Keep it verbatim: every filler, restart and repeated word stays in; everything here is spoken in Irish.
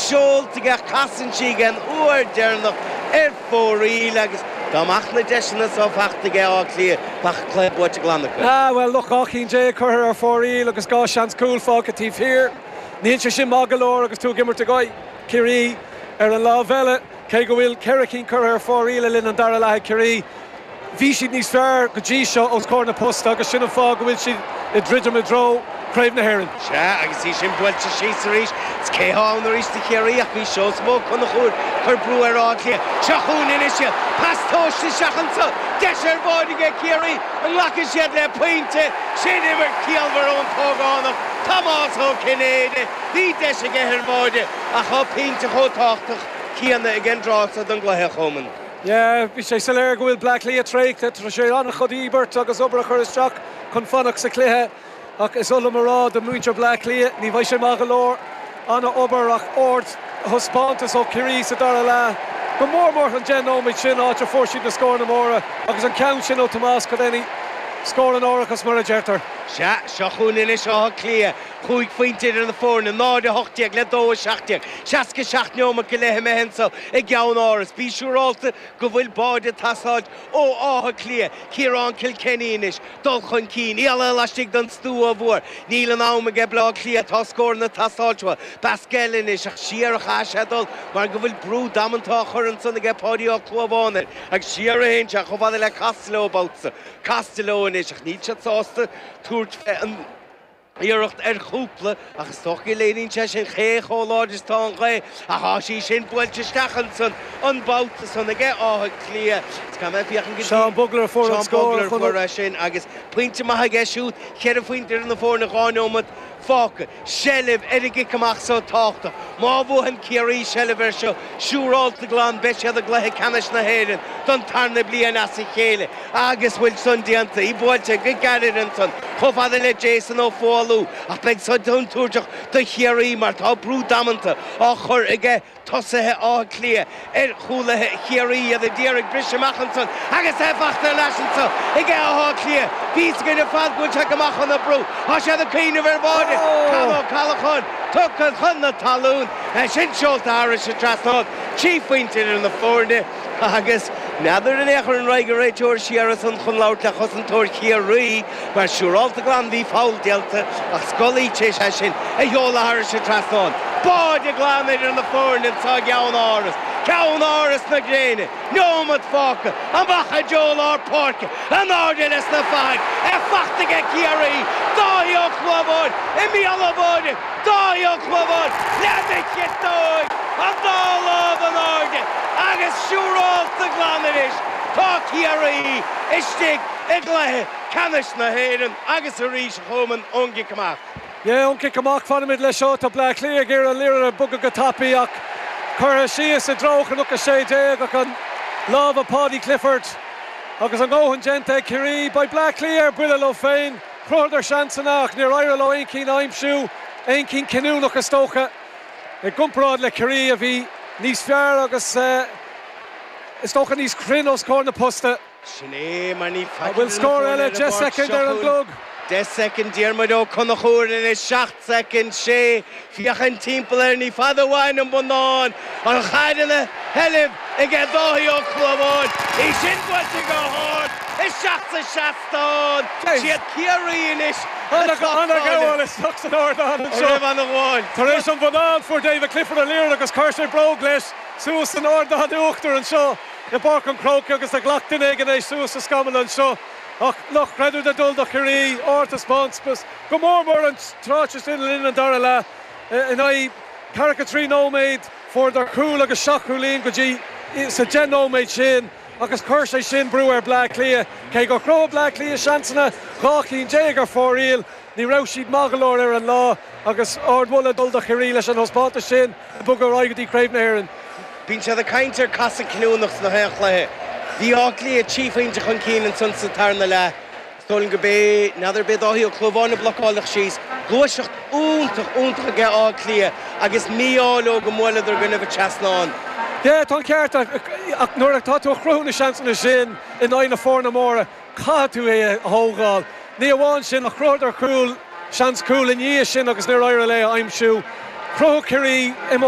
seolta aige, casann sí den uair deireanach ar fóraoil agus dá mbeadh na deiseanna so faighte aige Áth Cliath, bheadh an cluiche buaite glan acu. Ah, bhuel, look, dhá cinn déag curtha ar fóraoil agus dhá seans cúl fágtha taobh thiar. Níl sé sin maith go leor agus tú ag imirt i gcoinne Ciarraí ar an lámh eile, cé go bhfuil ceithre cinn curtha ar fóraoil le linn an dara leath ag Ciarraí. Bhí siad níos fearr go dtí seo os comhair na posta agus sin an fáth go bhfuil siad ag druidim i dtreo Craobh na hÉireann. Sea, agus í sin buailte síos arís, is cé atá ann arís do Chiarraí ach bhí Seosamh Ó Conchúir ag cur brú ar Áth Cliath. Seo chugainn anois iad. Pas tomhaiste isteach anso. Deis ar bháide aige Ciarraí. An nglacfaidh siad le pointe? Sin imirt ciallmhar ón t-ógánach Tomás Ó Cinnéide. Bhí deis aige ar bháide ach tá pointe chomh tábhachtach céanna ag an dtráth so den gcluiche, a Choman. Yeah, bhí sé soiléir go bhfuil Bleá Cliath traochta, tá sé an-chuid íobairt agus obair a chur isteach chun fanacht sa chluiche. Ach is ola mará do mhuintir Bleá Cliath, ní bheidh sé maith go leor an-obair ach ardthaispeántas ó Chiarraí sa dara leath. Go mór mór an deich nóiméad sin áit a fuair siad na scóranna móra agus an ceann sin ó Tomás Cudenny scór an árachas mar a deirtear. Sea, seo chugainn anois Áth Cliath, cúig phointe idir na foirne, náid a hocht déag le dó a seacht déag, seasca seacht neomat go leith imithe anso i gCeann Áras. Bí siúrálta go bhfuil báide ag teastáilt ó Áth Cliath, Ciarán Kilkenny anois, dul chun cinn, iallach laistigh den stua mhór. Níl an am aige Bleá Cliath, tá scóranna ag teastáilt uathu. Basquel anois ach siar a chaith sé dul mar go bhfuil brú damanta á chur ansan aige Páidí Ó Clúmháin air agus siar a théann sé chomh fada le Costello babhta. Costello anois ach níl siad sásta tabhairt fé an iarracht ar chúpla ach is dócha go léiríonn sé sin cé chomh láidir is atá an ghaoth ach tá sí sin buailte isteach ansan an babhta san aige Áth Cliath. Is caithfidh mé féachaint go dtí Seán Bugler a fuair an Seán scór Bugler a chun fuair é sin agus pointe maith aige siúd ceithre phointe idir na foirne dhá neomat fágtha. Seilbh ar an gcic amach so tábhachtach. Má bhuann Ciarraí seilbh air seo siúrálta glan beidh siad i gcluiche ceannais na hÉireann don tarna bliain as a chéile agus bhfuil san déanta í buailte go gairid ansan chomh fada le Jason Ó Foghlú ach beidh san contúirteach do Chiarraí mar tá brú damanta á chur aige tosaithe Átha Cliath ar chúlaithe Chiarraí iad ag iarraidh briseadh amach ansan agus é faighte ar ais anso aige Áth Cliath. Bhí go fad go bhfuil sé go maith chun na brú Tá siad ag cuimhneamh ar bháide Con Ó Callacháin tugtha chun na talún sin seolta thairis an trasnán trí phointe ar na foirne agus n'fheadar an échar an raig a réiteoir siar san chun labhairt le chosantóir Chiarraí mar siúrálta glan bhí foul déanta ach Scully sé sé sin a sheoladh thairis an trasnán. Báide glan idir na foirne sa gCeann Áras, Ceann Áras na gréine, neomat fágtha, amach i dtreo lár páirce, in airde leis na fathaigh, é faighte aige Ciarraí, Dáithí Ó Clúmháin, i mbéal an bháide, Dáithí Ó Clúmháin, le chiotóig, an dá lámh in airde, agus siúrálta glan anois, tá Ciarraí istigh i gcluiche ceannais na hÉireann agus arís chumann ón gcic amach. Yeah, ón cic amach fanfaimid leis seo tá Bleá Cliath ag iarraidh an liathróid a bhogadh go tapaidh ach curtha síos i dtreo Chnoc a sé déag ach an lámh Paudie Clifford agus a ndóthain déanta ag Ciarraí Beidh Bleá Cliath ar buile leo féin, Chruthaíodar seansanna ach níor éirigh leo aon cinn a aimsiú, aon cinn cinniúnach is dócha i gcomparáid le Ciarraí a bhí níos fearr agus uh, is dócha níos cruinne os comhair na posta. Sin é mar ní bhfuil scór eile deich soicind ar an gclog. Deich soicind Diarmuid Ó Conchúir ina seacht soicind sé féachaint timpeall air ní fada uainn an bonnán an chaid ina sheilbh aige Dáithí Ó Clúmháin í sin buailte go hard isteach sa seastán siad Ciarraí anois An-ghabháil isteach san ardán anseo an-ghabháil. Tar éis an bhonnán fuair David Clifford an liathróid agus chuir sé bróg leis suas san ardán uachtar anseo i bPáirc an Chrócaigh agus a ghlac duine éigin é suas sa scamall anseo. Ach nach creidiúint ag dul do Chiarraí ardtaispeántas go mór mór an tráth sin linn an dara leath in aghaidh ceathracha trí nóiméad fuaireadar cúl agus seacht gcúilín go dtí sa deich nóiméad sin agus chuir sé sin brú ar Bleá Cliath cé gur chruthaigh Bleá Cliath seansanna dhá cinn déag ar fóraoil ní raibh siad maith go leor ar an lá agus ardmholadh ag dul do Chiarraí leis an taispeántas sin bogadh ar aghaidh go dtí Craobh na hÉireann. Bíonn siad ag caint ar casadh cinniúnach sna haon chluiche. Bhí Áth Cliath trí phointe chun cinn ansan sa tarna leath. Stólin go bé n'fheadar bé Dáithí Ó Clúmháin a blocáladh síos, gluaiseacht iontach iontach aige Áth Cliath agus mí-ádh leo go mbuaileadar go raibh trasnán. Yeah, tá ceart ach nuair atá tú ag cruthú na seansanna sin in aghaidh na foirne móra caithfidh tú é a thógáil. Ní amháin sin ach chruthaíodar cúl seans cúl i ndiaidh sin agus níor éirigh leo aimsiú. Chruthaigh Ciarraí i